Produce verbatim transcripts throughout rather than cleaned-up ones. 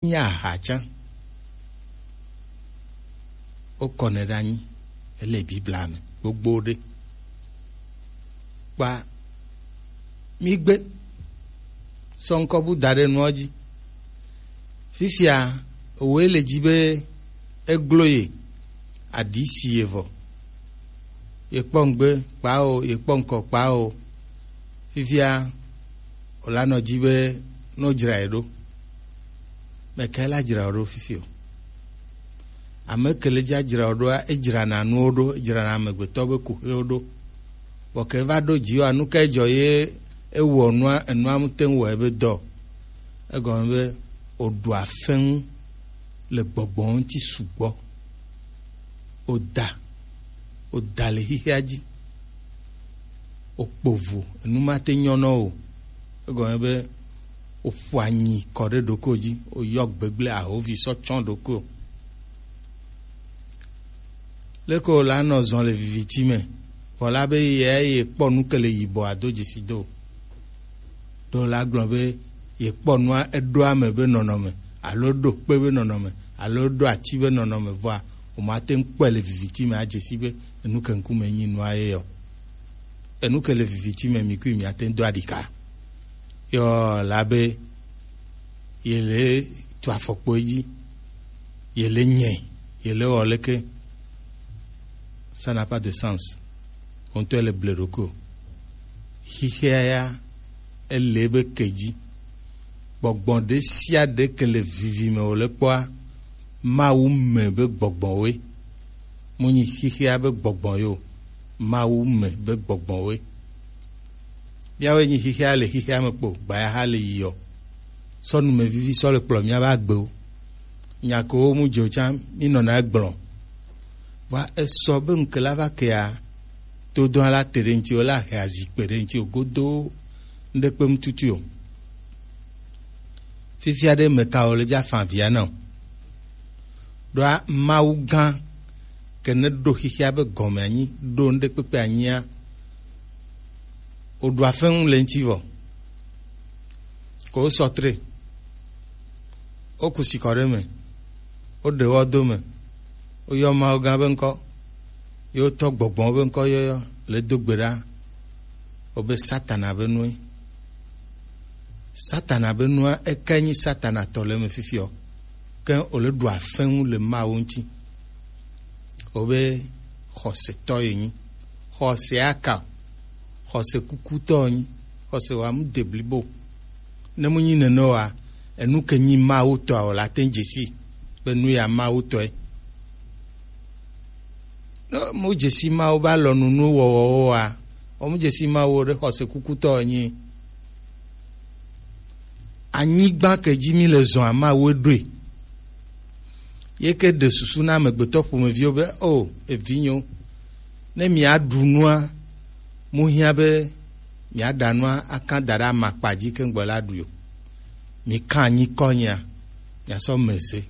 Nye aha tsã. Wokɔnɛ ɖe anyi. Ele Biblia me gbogbo ɖe. Kpa migbe sɔ ŋkɔ bu da ɖe nua dzi. Fifia, owoe le dzi be eglo ye, aɖi si ye vɔ. Ye kpɔ ŋgbe kpa o, ye kpɔ ŋkɔ kpa o. Fifia, wòla nɔ dzi be no dzra ye ɖo. Mɛ kae la dzra wo ɖo fifi o? Ame ke le dza dzra wo ɖoa, edzrana nuwo ɖo, edzrana amegbetɔ be kuxiwo ɖo. Vɔ ke va ɖo dzi wa, nu kae dzɔ ye ewɔ nua, enua ŋute ŋu wɔe be dɔ? Egɔme be wòɖu afɛŋu le gbɔgbɔ ŋuti sugbɔ. Wòda, wòda le xixea dzi. Wòkpo vo, enu ma te nyɔ nɔ o. Egɔme be wòƒo anyi kɔ ɖe ɖokui dzi, wòyɔ gbegble ahovi sɔ tsɔ ɖokui o. Leke wòla nɔ zɔn le viviti me, vɔ la be ye ye kpɔ nu ke le yibɔ ado dzesi do. Ɖo la gblɔ be ye kpɔ nua eɖo ame be nɔnɔme, alo eɖo kpe be nɔnɔme, alo eɖo ati be nɔnɔme, vɔa wòmate ŋu kpɔe le viviti me adze si be enu ke ŋkume nyi nua ye yɔ. Enu ke le viviti me mi kui miate ŋu do aɖika. Yɔ la be ye le tu afɔkpo dzi, ye le nyɛ, ye le wɔ leke. Ça n'a pas de sens. Wo ŋutɔ le ble ɖokui o. Xixea ya, ele be ke dzi. Gbɔgbɔ ɖe sia ɖe ke le vivi me wòle kpɔa, Mawu me be gbɔgbɔ woe. Mu nyi xixea be gbɔgbɔ yo, Mawu me be gbɔgbɔ woe. Miawoe nyi xixea le xixea me kpo, gbayaxa le yiɔ. Sɔ numevivi sɔ le kplɔ miabe agbewo. Nya kewo mu dze o tsã, mi nɔna egblɔ. Vɔa esɔ be ŋke la va kea, todɔa la te ɖe ŋti o, la he azikpe ɖe ŋti o godo, ŋɖe kpe mu tutu o. Fifia ɖe me ka o le dza fan via na o. Ɖoa Mawu gã ke ne ɖo xixia be gɔme anyi, ɖo ŋɖe kpekpe anyia, wòɖu afɛŋu le ŋti vɔ. Ko wosɔ tre, woku sikɔ ɖe me, woɖe wɔ do me, woyɔ Mawu gã be ŋkɔ, ye wotɔ gbɔgbɔwo be ŋkɔ yɔyɔ le do gbe ɖa, wobe Satana be nue. Satana be nua, ekae nyi Satana tɔ le eme fifiɔ, ke wòle ɖu afɛŋu le Mawu ŋti. Wobe xɔsetɔ ye nyi. Xɔse aka o. Xɔse kukutɔ nyi. Xɔse wa mu de blibo. Ne mu nyi nene wa, enu ke nyi Mawu tɔ o la te ŋu dzesi be nu ya Mawu tɔe. Ne mu dzesi Mawu ba lɔnu nu wɔwɔwo wa, o mu dzesi Mawu ɖe xɔse kukutɔ nyi. Anyigba ke dzi mi le zɔa Mawu ɖoe. Ye ke ɖe susu na amegbetɔ ƒomeviwo be, o, evinyewo, ne miaɖu nua, mu hiã be miaɖa nua akã da ɖe amakpa dzi ke ŋgbɔ la ɖui o. Mi kã anyi kɔ nyia, miasɔ me ze,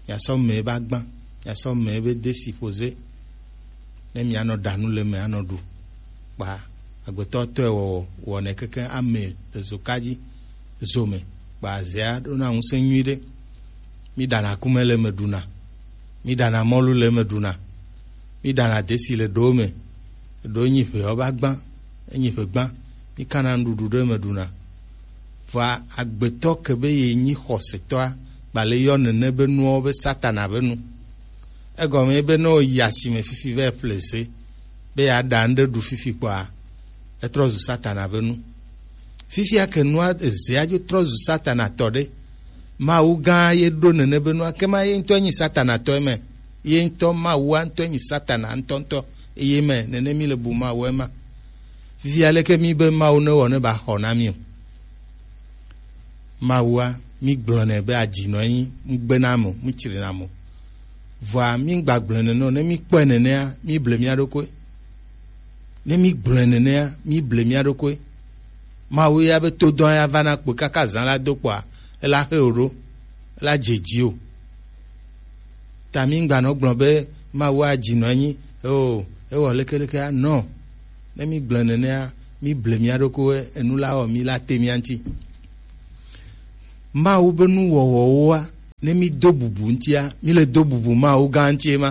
miasɔ me be agbã, miasɔ me be desi ƒo ze. Ne mianɔ ɖa nu le me anɔ ɖu. Kpa agbetɔ tɔe wɔwɔ, wɔnɛ keke ame le zoka dzi, zo me. Kpa zea ɖona ŋusẽ nyui ɖe. Mi ɖana akume le me ɖuna. Mi ɖana mɔlu le me ɖuna. Mi ɖana desi le ɖowo me. Ɖo nyi ʋeɔ ba gbã, enyi ʋe gbã. Mi kana nuɖuɖu ɖe me ɖuna. Vɔa agbetɔ ke be ye nyi xɔsetɔa, gba le yɔ nene be nuwo be Satana be nu. Egɔme be ne wo yi asime fifi vɛ ƒle ze, be yeaɖa ŋɖe ɖu fifi kpɔa, etrɔ zu Satana be nu. Fifia ke nua ezea dzo trɔ zu Satana tɔ ɖe, Mawu gã ye ɖo nene be nua, ke ma ye ŋutɔ nyi Satana tɔ eme. Ye ŋutɔ Mawua ŋutɔ nyi Satana ŋutɔŋutɔ. Eye me nene mi le bu Mawu ema. Fifia leke mi be Mawu ne wɔ ne ba xɔ na mi o? Mawua, mi gblɔnɛ be adzinɔ enyi, ŋugbe na mo, ŋutsri na mo. Vɔa mi gba gblɔnɛ nɔ, ne mi kpɔe nenea, mi ble mia ɖokui. Ne mi gblɔe nenea, mi ble mia ɖokui. Mawu ya be todɔn ya va na kpo kaka zã la do kpɔa, ela xe o ɖo, ela dze dzi o. Ta mi ŋgbanɔ gblɔ be Mawu adzi nɔ anyi, eo, ewɔ lekeleke a, nɔ. Ne mi gblɔe nenea, mi ble mia ɖokui, enu la wɔ mi la te mia ŋti. Mawu be nuwɔwɔwoa, Ne mi do bubu ŋutia, mi le do bubu Mawu gã ŋutie ma.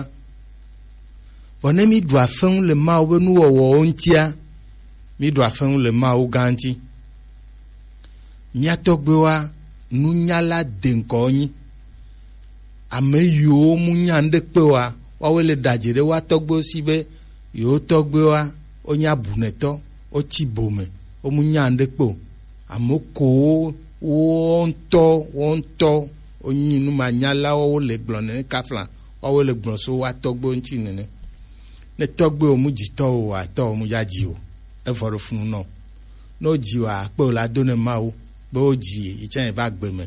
Vɔ ne mi ɖu afeŋu le Mawu be nuwɔwɔwo ŋutia, mi ɖu afeŋu le Mawu gã ŋuti. Mía tɔgbuiwoa, nunyala de ŋkɔ wo nyi. Ame yiwo mu nya ŋɖe kpe oa, woawoe le ɖaje ɖe woa tɔgbuiwo si be yewo tɔgbuiwoa, wonye abunɛtɔ, wotsi bo me, womu nya ŋɖe kpe o. Ame ko wo, wo ŋutɔ, wo ŋutɔ, wonyi numanyalawo, wole gblɔ nene kafla, woawoe le gblɔ so woa tɔgbuiwo ŋuti nene. Ne tɔgbuiwo mu dzi tɔwo o, atɔwo mu dza dzi o. Evɔ ɖo funu nɔ. Ne wodzi wòa, akpe wòle ado ne Mawu be wodzi ye, yi tsã yeva gbe me.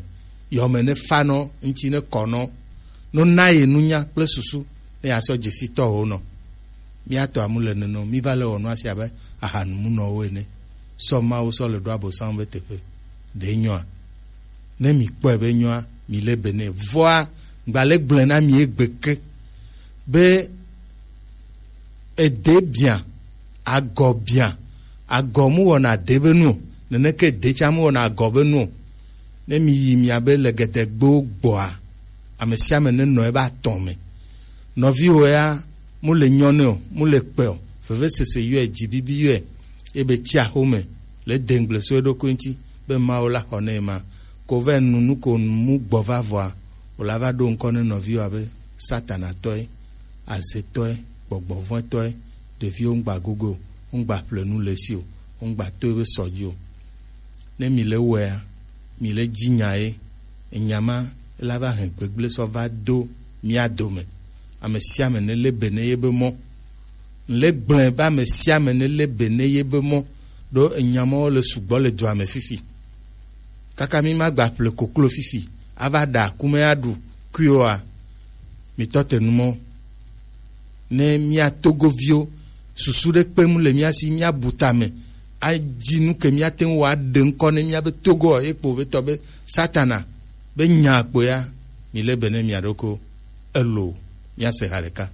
Yɔme ne fa nɔ, ŋuti ne kɔ nɔ, no na ye nunya kple susu ne yeasɔ dzesi tɔwo nɔ. Mía tɔ amu le nene o, mí va le wɔ nua si abe ahanumunɔwo ene. Sɔ Mawu sɔ le ɖo Abosam be teƒe. Ɖe nyɔa? Ne mi kpɔe be nyɔa, mi le be ne. Vɔa, gba le gblẽ na mi egbe ke be ede bia, agɔ bia, agɔ mu wɔna ade be nu o, neneke ede tsã mu wɔna agɔ be nu o. Ne mi yi mia be le gedegbewo gbɔa, ame sia ame ne nɔ ebe atɔ̃ me. Nɔviwò ya, mu le nyɔ nɛ o, mu le kpɛ o, vevesese yɔe, dzi bibi yɔe, ebe tsi axome le dengble so eɖokui ŋuti be Mawu la xɔ nɛ ma. Ko vɛ nu nu ko mu gbɔ va vɔa, wòla va ɖo ŋkɔ ne nɔviwòa be Satanatɔe, azetɔe, gbɔgbɔvɔ̃etɔe, ɖeviwo ŋgba gogo o, ŋgba ƒle nu le esi o, ŋgba to ebe sɔ dzi o. Ne mi le wɔea, mi le dzi nya ye, enya ma la va hɛn gbegblẽ sɔ va do mía dome. Ame sia ame ne le be ne ye be mɔ. Ŋle gblẽ be ame sia ame ne le be ne ye be mɔ, ɖo enya mɔwo le sugbɔ le dua me fifi. Kaka mi ma gba ƒle koklo fifi, ava ɖa kume aɖu kui oa, mi tɔ te nu mɔ. Ne mía togoviwo susu ɖe kpem le mía si, mía bu tame, adzi nu ke mía te ŋu wɔ aɖe ŋkɔ ne mía be togo ye kpo be tɔ be Satana be nya kpo ya, mi le be ne mia ɖoko elo mía se ha ɖeka.